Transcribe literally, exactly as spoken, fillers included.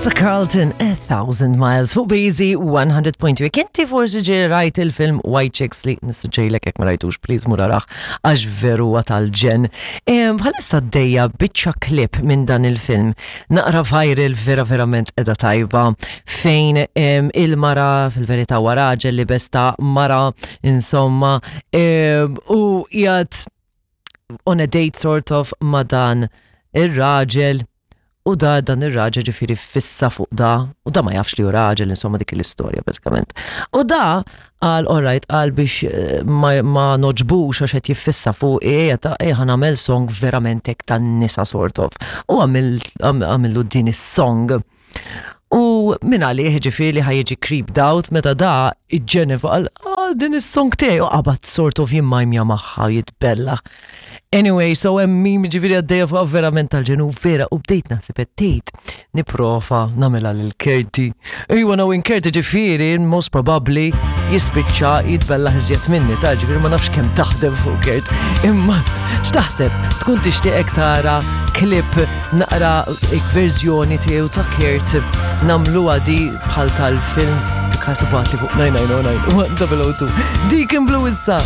Vanessa Carlton, A Thousand Miles fuq B Z one hundred point two. Kinti forsi ġie rajt il-film White Chicks, li nissuġġerilek, jekk ma rajtux, please mur arah, għax veru huwa tal-ġenn. Bħalissa għaddejja biċċa clip minn dan il-film. Naqra viral, vera verament edha tajba, fejn em, il-mara fil-verità huwa raġel li besta mara insomma em, u qiegħed on a date sort of ma' dan ir-raġel u da dan ir-raġel ġifieri fissa fuq da u da ma jafx li hu raġel, insomma, dik l-istorja bażikament. U da qal, alright, qal biex eh, ma, ma nogħġbux għax qed jiffissa fuq e ta' e ħa nagħmel song verament hekk tan-nisa sort of. U għamil għamillu din is-song. U minn għalih ġifieri li ħa jiġi creeped out meta da iġġenef qal, "Ah, din is-song tiegħi," u qabad sort of jimmajmja magħha jitbella. Anyway, so hemm meme ġifieri għaddejja fuq verament tal-ġenn vera, u bdejt naħseb qed tgħid nipprova nagħmilha lil Kerti. Iwa, knowing Kerti ġifieri most probably jispiċċa jitbella iżjed minni, ta' ġifieri ma nafx kemm taħdem fuq Kert. Imma x'taħseb? Tkun tixtieq tara clip naqra verżjoni tiegħu ta' Kert, nagħmluha di bħal tal-film? Kasi li fuq nine nine zero nine one zero zero two. Deacon Blue issa.